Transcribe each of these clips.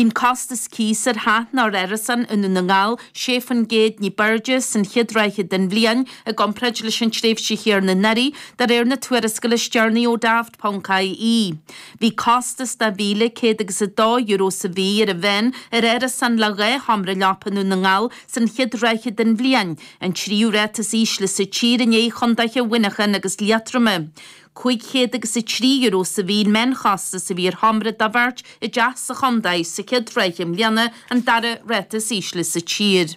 Bhí an costas cíosa ar theach nó ar árasán i nDún na nGall 6% ní b'airde san chéad ráithe den bhliain i gcomparáid leis an tréimhse chéanna anuraidh, de réir na tuarascála is deireanaí ó Daft.ie. Bhí costas de €1,100 agus €2 sa mhí ar an mheán ar árasán le 2 sheomra leapa i nDún na nGall san chéad ráithe den bhliain, an tríú ráta is ísle sa tír i ndiaidh chontaetha Mhuineacháin agus Liatroma. €503 sa mhí an meánchostas a bhí ar sheomra do bheirt i dteach sa chontae sa chéad ráithe i mbliana, an dara ráta is ísle sa tír.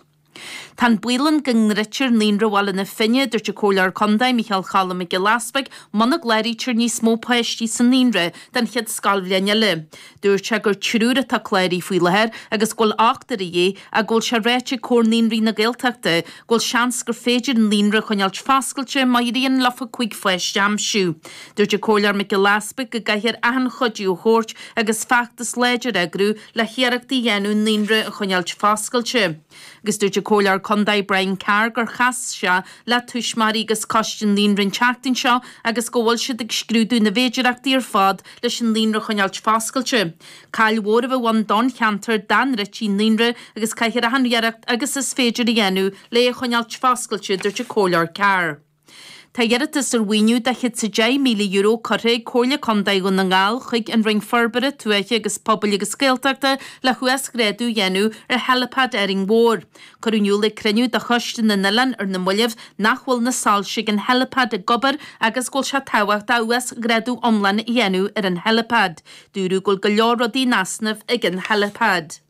Tá an baol ann go ndruidtear Naíonra Bhaile na Finne, a dúirt an Comhairleoir Contae Micheál Cholm Mac Giolla Easpaig, muna gcláraítear níos mó páistí sa naíonra don chéad scoilbhliain eile. Dúirt sé gur triúr atá cláraithe faoi láthair agus go bhfuil ochtar a dhíth ach go bhfuil sé ráite ag Comhar Naíonraí na Gaeltachta go bhfuil seans gur féidir an naíonra a choinneáilt foscailte má éiríonn leofa 5 pháiste a aimsiú. Dúirt an Comhairleoir Mac Giolla Easpaig go gcaithfear achan chuidiú a thabhairt agus feachtas láidir a eagrú le hiarracht a dhéanamh an naíonra a choinneáilt foscailte. Agus dúirt an Comhairleoir Contae Brian Carr gur chas sé le tuismitheoirí agus coiste an naíonra an tseachtain seo agus go bhfuil siad ag scrúdú na bhféidearthachtaí ar fad leis an naíonra a choinneáilt foscailte. Caill mhór a bheadh ann don cheantar dá ndruidtí an naíonra agus caithfear achan iarracht agus is féidir a dhéanamh le é a choinneáilt foscailte, a dúirt an Comhairleoir Carr. Tá iarratas ar mhaoiniú de €110,000 curtha ag Comhairle Contae Dhún na nGall chuig an Roinn Forbartha Tuaithe agus Pobail agus Gaeltachta le huasghrádú a dhéanamh ar Helipad Árainn Mhór. Cuireadh in iúl ag cruinniú de Choiste na nOileán ar na mallaibh nach bhfuil na soilse ag an Helipad ag obair agus go bhfuil sé tábhachtach uasghrádú iomlán a dhéanamh ar an Helipad. Dúradh go bhfuil go leor rudaí in easnamh ag an Helipad.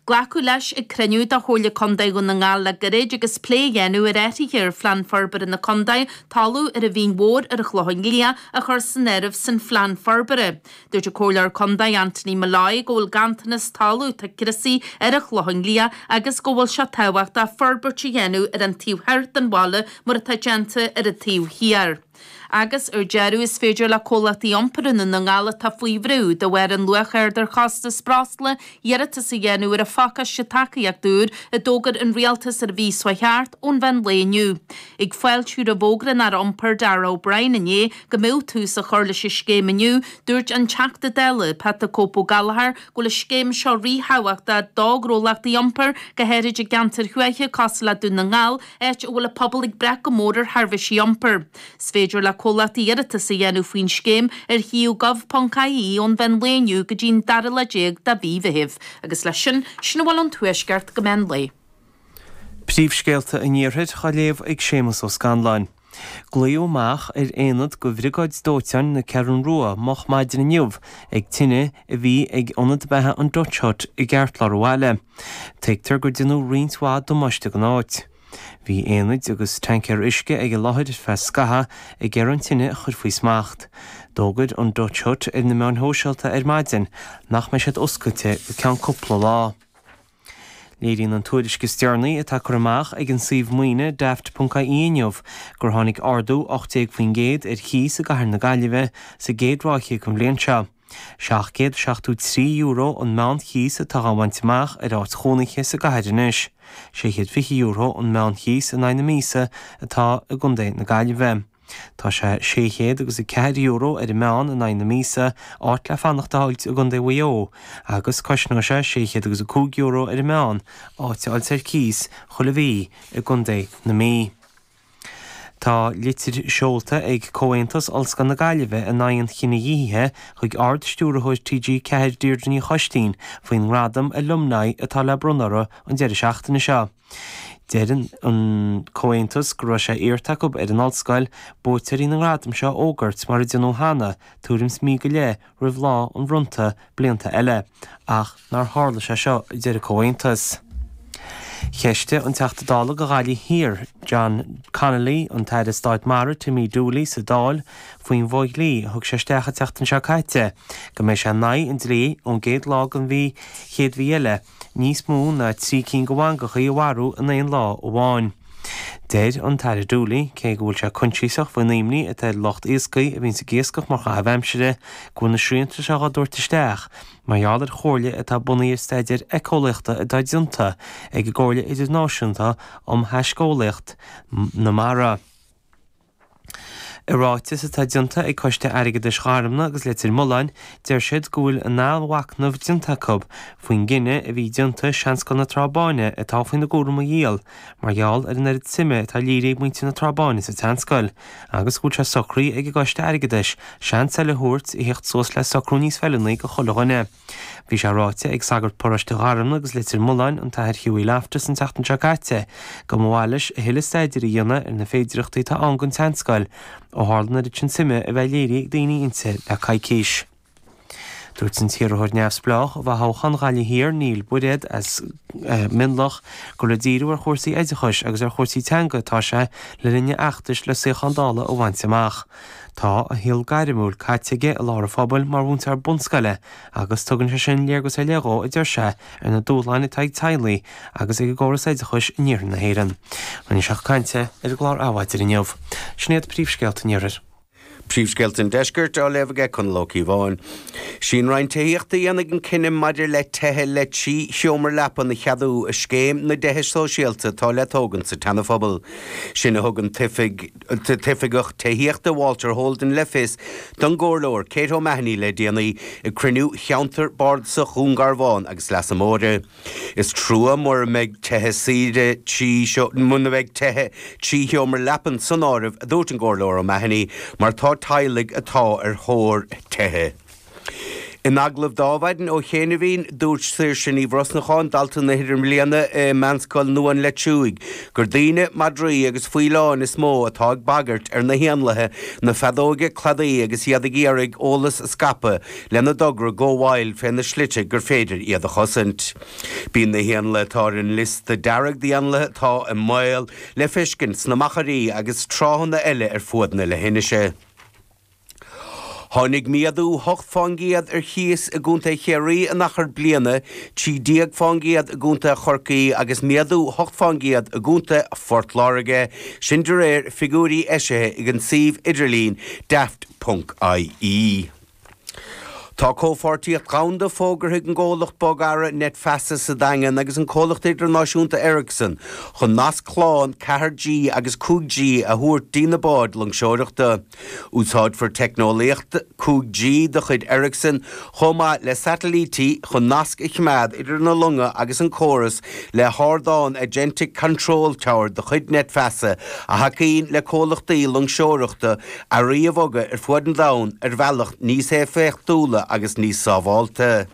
Glacadh leis ag cruinniú de Chomhairle Contae Dhún na nGall le gairid agus plé á dhéanamh ar athruithe ar Phlean Forbartha na Contae talamh ar an Mhín Mhór ar an Chlochán Liath a chur san áireamh san phlean forbartha. Dúirt an Comhairleoir Contae Anthony Molloy go bhfuil ganntanas talamh atá criosaithe ar an Chlochán Liath agus go bhfuil sé tábhachtach forbairt a dhéanamh ar an taobh thoir den bhaile mar atá déanta ar an taobh thiar. Agus, ar deireadh, is féidir le comhlachtaí iompair i nDún na nGall atá faoi bhrú de bharr an luach ard ar chostas breosla iarratas a dhéanamh ar an phacáiste tacaíochta úr a d'fhógair an Rialtas ar an mhí seo thart ón mheán lae inniu. Ag fáiltiú roimh fhógra an Aire Iompair Darragh O'Brien inné go mbeadh tús á chur leis an scéim inniu, dúirt an Teachta Dála, Pat 'The Cope' Ó Gallchóir, go bhfuil an scéim seo ríthábhachtach do ghnólachtaí iompair, go háirid i gceantair thuaithe cosúil le Dún na nGall, áit a bhfuil an pobal ag brath go mór ar sheirbhísí iompair. Is féidir le comhlachtaí iarratas a dhéanamh faoin scéim ar shuíomh gov.ie ón mheán lae inniu go dtí an dara lá déag de mhí Mheithimh. Agus leis sin, sin a bhfuil ón Tuaisceart go meán lae. Príomhscéalta an Iarthair á léamh ag Séamus Ó Scanláin. Glaodh amach ar aonad de Bhriogáid Dóiteáin na Ceathrún Rua moch maidin inniu ag tine a bhí ag ionad beatha an Dutch Hut i gceartlár an bhaile. Tuigtear gur déanadh roinnt mhaith damáiste don áit. Bhí aonaid agus tancaeir uisce ag an láthair ar feadh scathaimh ag iarraidh an tine a chur faoi smacht. D'fhógair an Dutch Hut ar na meáin shóisialta ar maidin nach mbeidh siad oscailte go ceann cúpla lá. Léiríonn an tuairisc is deireanaí atá curtha amach ag an suíomh maoine Daft.ie inniu gur tháinig ardú 18% ar chíos i gcathair na Gaillimhe sa gcéad ráithe den bhliain seo. €773 an meánchíos atá á bhaint amach ar áit chónaithe sa gcathair anois. €620 an meánchíos in aghaidh na míosa atá i gcontae na Gaillimhe. Tá sé 600 agus €4 ar an meán in aghaidh na míosa áit le fanacht a fháilt i gContae Mhaigh Eo agus cosnóidh sé 600 agus €5 ar an meán áit a fháilt ar cíos chuile mhí i gContae na Mí. Tá litir seolta ag Comhaontas Ollscoil na Gaillimhe in aghaidh an chinedhíothaithe chuig Ard-Stiúrthóir TG4 Deirdre Ní Choistín faoin ngradam Alumni atá le bronnadh orthu an deireadh seachtaine seo. Deir an Comhaontas go raibh sé iarrta acu ar an Ollscoil buaiteoirí na ngradam seo a fhógairt mar a déanadh cheana tuairim is mí go leith roimh lá an bhronnta blianta eile, ach nár tharla sé seo, a deir an Comhaontas. Cheistigh an Teachta Dála do Ghaillimh Thiar, John Connolly, an tAire Stáit Mara, Timmy Dooley, sa Dáil faoin bhfo-dhlí a thug sé isteach an tseachtain seo caite go mbeidh sé in aghaidh an dlí ón gcéad lá den mhí chéad mhí eile níos mó ná 3 cinn de mhangachaí a mharú in aon lá amháin. Deir an tAire Dooley, cé go bhfuil sé coinsiasach faoin imní atá ar lucht iascaigh a bhíonns ag iascach mar chaitheamh aimsire, go bhfuil na srianta seo á dtabhairt isteach mar gheall ar chomhairle atá bunaithe ar staidéir éiceolaíochta atá déanta ag an gComhairle Idirnáisiúnta um Thaisceolaíocht na Mara. I ráiteas atá déanta ag Coiste Airgeadais Gharmna agus Leitir Mealláin, deir siad go bhfuil a n-athmhachnamh déanta acu faoin gcinneadh a bhí déanta Seanscoil na Trá Báine atá faoina gcúram a dhíol mar gheall ar an oiread suime atá léirithe ag muintir na Trá Báine sa tseanscoil agus go bhfuil sé socraithe ag an gCoiste Airgeadais seans eile a thabhairt a theacht suas le socrú níos feiliúnaí do chuile dhuine. Bhí sé ráite ag sagart paróiste Gharmna agus Leitir Mealláin, an tAthair Hughie Loftus an tseachtain seo caite, go mba mhaith leis a thuilleadh staidéir a dhéanamh ar na féidireachtaí atá ann don tseanscoil, ó tharla an oiread sin suime a bheith léirithe ag daoine inti le coicís. Dúirt an t-iarrthóir neamhspleách i bhfothoghchán Ghaillimh Thiar, Neil Bairéad as Mionlach, gur le díriú ar chúrsaí oideachais agus ar chúrsaí teanga atá sé le linn a fheachtais le suíochán Dála a bhaint amach. Tá a shaol gairmiúil caite aige i lár an phobail mar mhúinteoir bunscoile agus tugann sé sin léargas ar leith dhó, a deir sé, ar na dúshláin atá ag teaghlaigh agus ag an gcóras oideachais in iarthar na hÉireann. Rinne sé a chuid cainte ar an gclár Adhmhaidin inniu. Sin iad príomhscéalta an iarthair. Príomhscéalta an Deiscirt á léamh aige Conall Ó Cíobháin. Sí an Roinn Tithíochta a dhéanfaidh an cinneadh maidir le tithe le 3 sheomra leapan a cheadú i scéim na dtithe sóisialta atá le tógaint sa tSeanaphobal. Sin a thug an tOifigeach Tithíochta Walter Holden le fios don gComhairleoir Kate O'Mahony le déanaí ag cruinniú Cheantar Bardasach Dhún Garbhán agus Leasa Móire. Is trua mura mbeidh tithe saoire muna mbeidh tithe 3 sheomra leapan san áireamh, a dúirt an gComhairleoir O'Mahony, mar tá teaghlaigh atá ar thóir tithe. In agallamh d'Adhmhaidin ó chianaibhín, dúirt Saoirse Ní Bhrosnacháin, dalta na hidirbhliana i Meánscoil Nua an Leitriúigh, gur daoine, madraí agus faoileáin is mó atá ag bagairt ar na héanlaithe na feadóige cladaí agus iad ag iarraidh eolas a scaipeadh lena dtogra Go Wild fé na slite gur féidir iad a chosaint. Bíonn na héanlaithe atá ar an liosta dearg d'éanlaithe atá i mbaol le feiscint sna machairí agus tráthanna eile ar fuaid na leithinise. Tháinig méadú 8 fán gcéad ar chíos i gContae Chiarraí in achar bliana, 13 fán gcéad i gContae Chorcaí agus méadú 8 fán gcéad i gContae Phort Láirge, sin de réir figiúirí eisithe ag an suíomh idirlín daft ponc ie. Tá comhpháirtíocht dhomhanda fógartha ag an gcomhlacht bogearra NetFeasa sa Daingean agus an comhlacht idirnáisiúnta Ericsson chun nasc shlán 4G agus 5G a thabhairt dtí na báid loingseoireachta. Úsáidfear teicneolaíocht 5G de chuid Ericsson chomh maith le satailítí chun nasc a choimeád idir na longa agus an córas le hardán Agentic Control Tower de chuid NetFeasa a thacaíonn le comhlachtaí loingseoireachta earraí a bhogadh ar fuaid an domhain ar bhealach níos éifeachtúla agus níos sábháilte.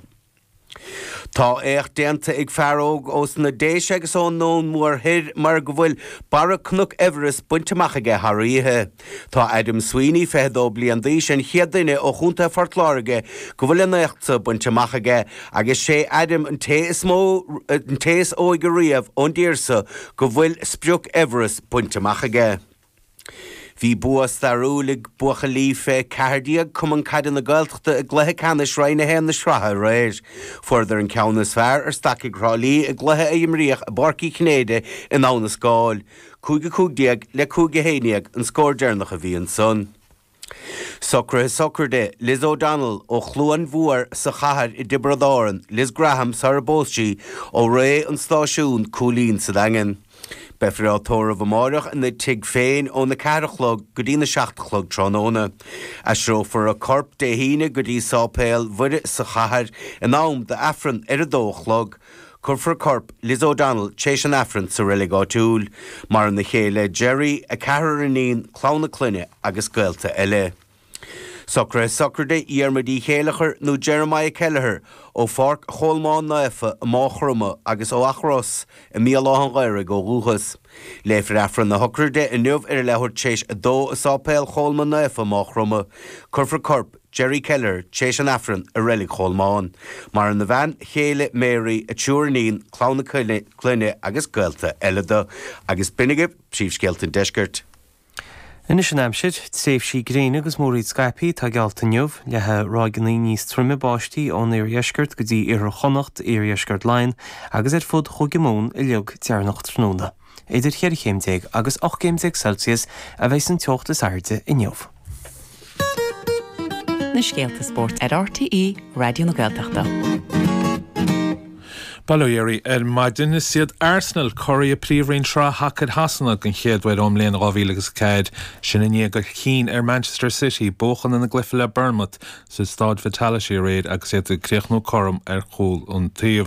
Tá éacht déanta ag fear óg ós na Déise agus ón nDún Mór Thoir mar go bhfuil barra Cnoc Everest bainte amach aige thar oíche. Tá Adam Sweeney, 22 bliain d'aois, an chéad duine ó Chontae Phort Láirge go bhfuil an éacht so bainte amach aige agus sé Adam an té is mó, an té is óige riamh ón dtír so go bhfuil sprioc Everest bainte amach aige. Bhí bua stairiúil ag buachaillí fé 14 Cumann Caide na Gaeltachta i gcluiche ceannais Roinn 1 na sraithe aréir. Fuaireadar an ceann is fearr ar Stacaigh Thrá Lí i gcluiche a imríodh i bPáirc Uí Chinnéide in Abha na Scáil. 5-15 le 5-11 an scór deireanach a bhí ansan. Socruithe sochraide Liz O'Donnell ó Chluain Mhór sa Chathair i dTiobraid Árann, Liz Graham sar a bpós sí, ó Rae an Stáisiún, Cúilín sa Daingean. Beifear á tórramh amáireach ina tigh féin óna ceathair a chlog go dtína seacht a chlog tráthnóna. Aistreofar a corp Dé hAoine go dtí Sáipéal Mhuire sa Chathair in am d'Aifreann ar a dó a chlog. Cuirfear corp Liz O'Donnell tréis an Aifrinn sa reilig áitiúil. Maireann a céile Gerry, a ceathrar iníon, clann a clainne agus gaolta eile. Socruithe sochraide Dhiarmuid Uí Chéileachair nó Jeremiah Kelleher ó Pháirc Cholmáin Naofa i Máigh Chromtha agus ó Each Ros i mBéal Átha an Ghaorthaidh ó dhúchas. Léifear Aifreann na sochraide inniu ar a leathuair tréis a dó i Sáipéal Cholmáin Naofa, Máigh Chromtha. Cuirfear corp Gerry Kelleher, tréis an Aifrinn i Reilig Cholmáin. Maireann a bhean chéile Mary, a triúr iníon, clann a clainne agus gaolta eile dó. Agus b'in agaibh príomhscéalta an deiscirt. Anois an aimsir, tréimhsí gréine agus múraíl scaipthe atá geallta inniu, leathfaidh ráigeanna níos troime báistí ón iardheisceart go dtí iarthar Chonnacht, iardheisceart Laighean agus ar fud Chúige Mumhan uilig deireanach tráthnóna. Idir cheithre chéim déag agus 18 gcéim Celsius a bheidh an teocht is airde inniu. Na scéalta spóirt ar RTÉ Raidió na Gaeltachta. Bail ó Dhia oraibh ar maidin. Is iad Arsenal curaidh Príomhroinn Sraith Shacair Shasana den chéad uair ón mbliain 2004, sin i ndiaidh dul chinn ar Manchester City buachan ina gcluiche le Bournemouth sa Staid Vitality aréir agus iad ag críochnú cothrom ar chúl an taobh.